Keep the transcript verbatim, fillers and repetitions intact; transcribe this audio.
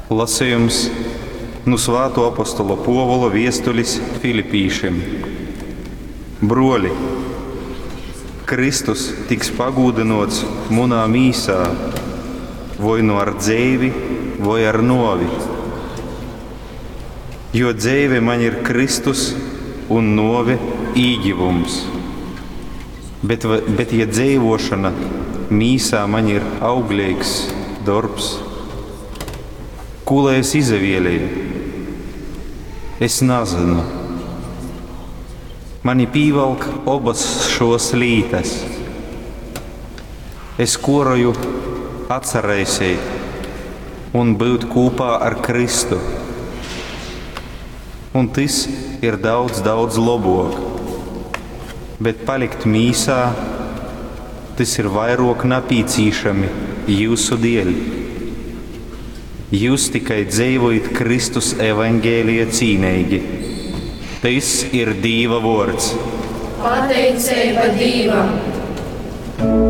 Lasejums nu Svātuo apostola Puovula viestulis Filipīšim. Bruoli, Kristus tiks pagūdynuots munā mīsā, voi nu ar dzeivi, voi ar nuovi. Jo dzeive maņ ir Kristus un nuove īgivums. Bet, bet ja dzeivošana mīsā maņ ir augleigs dorbs, kū lai es izavieleju? Es nazynu. Mani pīvalk obas šos lītas. Es koroju atsaraiseit un byut kūpā ar Kristu. Un tys ir daudz, daudz lobok. Bet palikt mīsā, tys ir vairok napīcīšami jiusu dieļ. Jius tikai dzeivojit Kristus evaņgelija cīneigi. Tys ir Dīva vuords. Pateiceiba Dīvam!